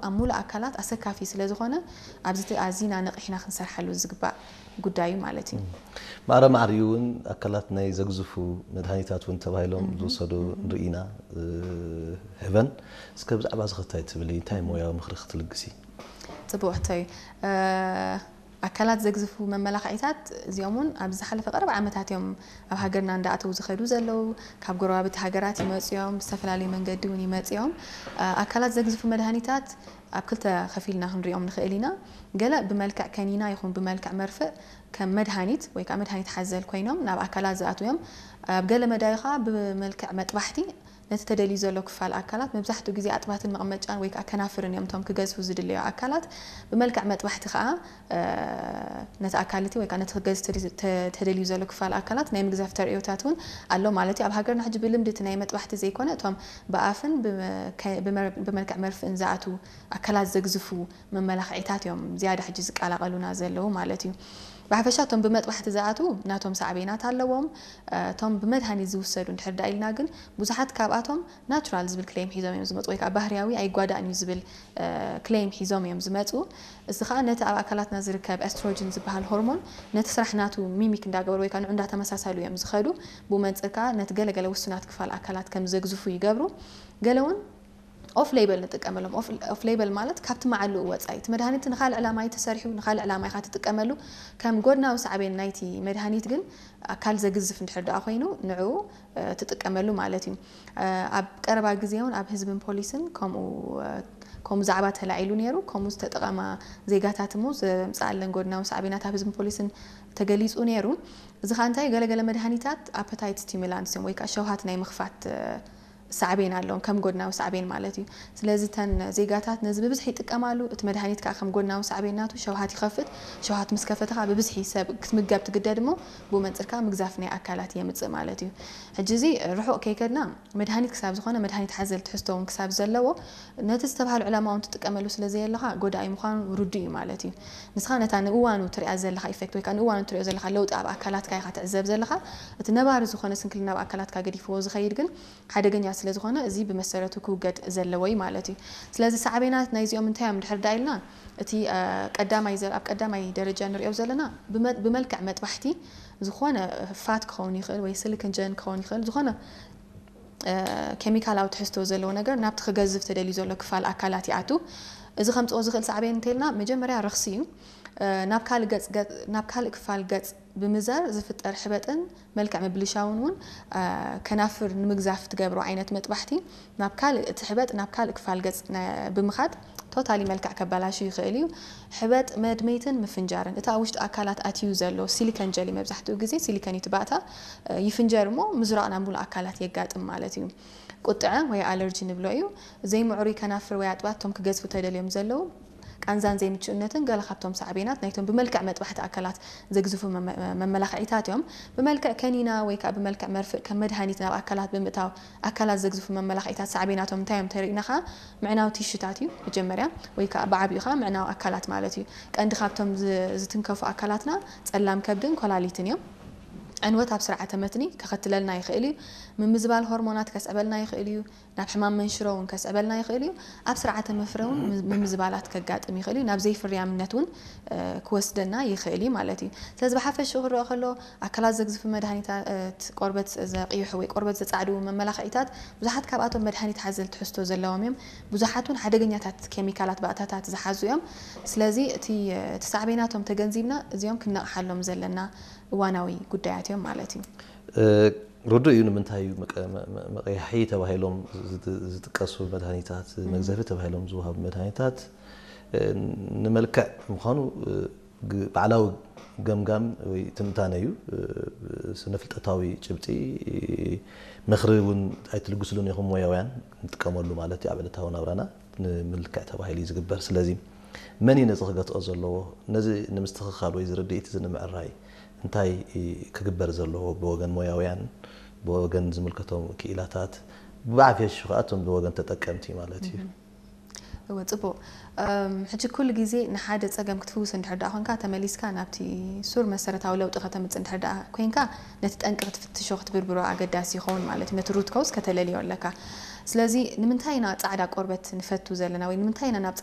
ኣብ ሙሉእ ኣካላት ኣሰካፊ ስለ ዝኾነ ኣብዚ ኣዚና ነቒሕና ክንሰርሓሉ ዝግባእ ጉዳይ እዩ ማለት እዩ። ማዕረ ማዕሪኡ እውን ኣካላት ናይ ዘግዝፉ መድሃኒታት እውን ተባሂሎም ዝወሰዱ ንርኢና። ሕበን እስከ ብዛዕባ ዝኸታይ ትብሊ እንታይ ሞያዊ ምኽሪ ክትልግሲ? ጽቡቕ ሕቶ እዩ። ኣካላት ዘግዝፉ መመላኽዒታት እዚኦም እውን ኣብ ዝሓለፈ ቀረብ ዓመታት እዮም ኣብ ሃገርና እንዳኣተዉ ዝኸዱ ዘለዉ። ካብ ጎረባብቲ ሃገራት ይመፁ እዮም፣ ብዝተፈላለዩ መንገዲ እውን ይመፁ እዮም። ኣካላት ዘግዝፉ መድሃኒታት ኣብ ክልተ ከፊልና ክንሪኦም ንኽእል ኢና። ገለ ብመልክዕ ከኒና ይኹን ብመልክዕ መርፍእ ከም መድሃኒት ወይ ከዓ መድሃኒት ሓዘል ኮይኖም ናብ ኣካላት ዝኣትዉ እዮም። ኣብ ገለ መዳዩ ከዓ ብመልክዕ መጥባሕቲ ነቲ ተደልዩ ዘሎ ክፋል ኣካላት፣ መብዛሕትኡ ግዜ ኣጥባትን መቐመጫን ወይ ከዓ ከናፍርን እዮም እቶም ክገዝፉ ዝድለዩ ኣካላት። ብመልክዕ መጥባሕቲ ከዓ ነቲ ኣካል እቲ ወይ ከዓ ነቲ ክገዝፍ ተደልዩ ዘሎ ክፋል ኣካላት ናይ ምግዛፍ ተርእዮታት እውን ኣሎ ማለት እዩ። ኣብ ሃገርና ሕጂ ብልምዲ እቲ ናይ መጥባሕቲ ዘይኮነ እቶም ብኣፍን ብመልክዕ መርፍእን ዝኣትዉ ኣካላት ዘግዝፉ መመላኽዒታት እዮም ዝያዳ ሕጂ ዝቀላቐሉና ዘለዉ ማለት እዩ። ብሓፈሻ እቶም ብመጥባሕቲ ዝኣትዉ ናቶም ሳዕቤናት ኣለዎም። እቶም ብመድሃኒት ዝውሰዱ እንድሕር ዳ ኢልና ግን ብዙሓት ካብኣቶም ናቹራል ዝብል ክሌም ሒዞም እዮም ዝመፁ ወይ ከዓ ባህርያዊ ኣይጓዳእን እዩ ዝብል ክሌም ሒዞም እዮም ዝመፁ። እዚ ከዓ ነቲ ኣብ ኣካላትና ዝርከብ ኤስትሮጅን ዝበሃል ሆርሞን ነቲ ስራሕ ናቱ ሚሚክ እንዳገበሩ ወይ ከዓ ንዑ እንዳተመሳሰሉ እዮም ዝኸዱ። ብኡ መንፅር ከዓ ነቲ ገለገለ ውሱናት ክፋል ኣካላት ከም ዘግዝፉ ይገብሩ። ገለ እውን ኦፍ ሌበል ንጥቀመሎም። ኦፍ ሌበል ማለት ካብቲ መዓልኡ ወፃኢ እቲ መድሃኒት ንካልእ ዕላማ እዩ ተሰሪሑ፣ ንካልእ ዕላማ ኢኻ ትጥቀመሉ። ከም ጎድናዊ ሳዕቤን ናይቲ መድሃኒት ግን ኣካል ዘግዝፍ እንድሕር ደኣ ኮይኑ ንዕኡ ትጥቀመሉ ማለት እዩ። ኣብ ቀረባ ግዜ እውን ኣብ ህዝብን ፖሊስን ከምኡ ከምኡ ዛዕባ ተላዒሉ ነይሩ። ከምኡ ዝተጠቐማ ዜጋታት እሞ ዘምፅኣለን ጎድናዊ ሳዕቤናት ኣብ ህዝብን ፖሊስን ተገሊፁ ነይሩ። እዚ ከዓ እንታይ ገለገለ መድሃኒታት ኣፐታይት ስቲሙላንትስ እዮም ወይ ከዓ ሸውሃት ናይ ምኽፋት ሳዕቤን ኣለዎም፣ ከም ጎድናዊ ሳዕቤን ማለት እዩ። ስለዚ እተን ዜጋታት ነዚ ብብዝሒ ይጥቀማሉ። እቲ መድሃኒት ከዓ ከም ጎድናዊ ሳዕቤን ናቱ ሸውሃት ይኸፍት። ሸውሃት ምስ ከፈተ ከዓ ብብዝሒ ሰብ ክትምገብ ትግደድ እሞ ብኡ መንፅር ከዓ ምግዛፍ ናይ ኣካላት የምፅእ ማለት እዩ። ሕጂ እዚ ርሑቕ ከይከድና መድሃኒት ክሳብ ዝኾነ መድሃኒት ሓዘል ትሕዝቶ እውን ክሳብ ዘለዎ ነቲ ዝተባህሉ ዕላማ እውን ትጥቀመሉ ስለ ዘየለኻ ጎዳኢ ምዃኑ ርዱእ እዩ ማለት እዩ። ንስኻ ነታ ንእዋኑ ትሪኣ ዘለኻ ኢፌክት ወይ ከዓ ንእዋኑ ትሪኦ ዘለኻ ለውጢ ኣብ ኣካላትካ ኢኻ ትዕዘብ ዘለኻ። እቲ ነባሪ ዝኾነ ስንክልና ኣብ ኣካላትካ ገዲፍዎ ዝኸይድ ግን ሓደገኛ ስለ ዝኾነ እዚ ብመሰረቱ ክውገድ ዘለዎ እዩ ማለት እዩ። ስለዚ ሳዕቤናት ናይዚኦም እንታይ እዮም ድሕር ዳ ኢልና እቲ ቀዳማይ ኣብ ቀዳማይ ደረጃ ንሪኦ ዘለና ብመልክዕ መጥባሕቲ ዝኾነ ፋት ክኸውን ይኽእል ወይ ስሊኮን ጀል ክኸውን ይኽእል ዝኾነ ኬሚካላዊ ትሕዝቶ ዘለዎ ነገር ናብቲ ክገዝፍ ተደልዩ ዘሎ ክፋል ኣካላት ይኣቱ። እዚ ከምፅኦ ዝኽእል ሳዕቤን እንተልና መጀመርያ ረኽሲ እዩ። ናብ ካልእ ክፋል ገፅ ብምዛር ዝፍጠር ሕበጥን መልክዕ ምብልሻውን እውን ከናፍር ንምግዛፍ ትገብሮ ዓይነት መጥባሕቲ ናብ ካልእ እቲ ሕበጥ ናብ ካልእ ክፋል ገፅ ብምኻድ ቶታሊ መልክዕ ከበላሹ ይኽእል እዩ። ሕበጥ መድመይትን ምፍንጃርን እቲ ኣብ ውሽጢ ኣካላት ኣትዩ ዘሎ ሲሊኮን ጀሊ መብዛሕትኡ ግዜ ሲሊኮን እዩ እቲ ባእታ ይፍንጀር እሞ ምዝራቕ ናብ ሙሉእ ኣካላት የጋጥም ማለት እዩ። ቁጥዐ ወይ ኣለርጂ ንብሎ እዩ። ዘይምዕሩይ ከናፍር ወይ ኣጥባት እቶም ክገዝፉ ተደልዮም ዘለዉ ቃንዛን ዘይምችእነትን ገለ ካብቶም ሳዕቤናት ናይቶም ብመልክዕ መጥባሕቲ ኣካላት ዘግዝፉ መመላኽዒታት እዮም። ብመልክዕ ከኒና ወይ ከዓ ብመልክዕ መርፍእ ከም መድሃኒት ናብ ኣካላት ብምእታው ኣካላት ዘግዝፉ መመላኽዒታት ሳዕቤናቶም እንታይ እዮም ተሪእና ከዓ ምዕናው ቲሹታት እዩ መጀመርያ ወይ ከዓ ብዓብኡ ከዓ ምዕናው ኣካላት ማለት እዩ። ቀንዲ ካብቶም ዝትንከፉ ኣካላትና ፀላም ከብድን ኮላሊትን እዮም። ዕንወት ኣብ ስርዓተ መትኒ ከኸትለልና ይኽእል እዩ። ምምዝባል ሆርሞናት ከስዕበልና ይኽእል እዩ። ናብ ሕማም መንሽሮ እውን ከስዕበልና ይኽእል እዩ። ኣብ ስርዓተ መፍረ እውን ምምዝባላት ከጋጥም ይኽእል እዩ። ናብ ዘይፍርያምነት እውን ክወስደና ይኽእል እዩ ማለት እዩ። ስለዚ ብሓፈሽኡ ክረአ ከሎ ኣካላት ዘግዝፉ መድሃኒታት፣ ቆርበት ዘቕይሑ ወይ ቆርበት ዘጻዕዱ መመላኽዒታት ብዙሓት ካብኣቶም መድሃኒት ሓዘል ትሕዝቶ ዘለዎም እዮም። ብዙሓት እውን ሓደገኛታት ኬሚካላት ባእታታት ዝሓዙ እዮም። ስለዚ እቲ ሳዕቤናቶም ተገንዚብና እዚኦም ክነቕሓሎም ዘለና እዋናዊ ጉዳያት እዮም ማለት እዩ። ርዱእ እዩ። ንምንታይ እዩ መቀያሒ ተባሂሎም ዝጥቀሱ መድሃኒታት፣ መግዘፊ ተባሂሎም ዝወሃቡ መድሃኒታት ንመልክዕ ምዃኑ ባዕላዊ ገምጋም ወይ ትንታነ እዩ። ስነ ፍልጠታዊ ጭብጢ ምኽሪ እውን ኣይትልግስሉን ኢኹም ሞያውያን ንጥቀመሉ ማለት እዩ ኣብ ዕለታዊ ናብራና ንምልክዕ ተባሂሉ እዩ ዝግበር። ስለዚ መን እዩ ነዚ ክገትኦ ዘለዎ? ነዚ ንምስትኽኻል ወይ ዝርድኢት እዚ ንምዕራይ እንታይ ክግበር ዘለዎ ብወገን ሞያውያን ብወገን ዝምልከቶም ክኢላታት ብዓፊ የሽሹ ከዓ እቶም ብወገን ተጠቀምቲ ማለት እዩ። እወ ጽቡቕ። ሕጂ ኩሉ ግዜ ንሓደ ጸገም ክትፍውስ እንድሕር ደኣ ኮንካ ተመሊስካ ናብቲ ሱር መሰረታዊ ለውጢ ከተምጽእ እንድሕር ደኣ ኮንካ ነቲ ጠንቂ ክትፍትሾ ክትብርብሮ ኣገዳሲ ይኸውን ማለት እዩ። ነቲ ሩት ኮዝ ከተለልዮ ኣለካ። ስለዚ ንምንታይ ኢና ጻዕዳ ቆርበት ንፈቱ ዘለና ወይ ንምንታይ ኢና ናብ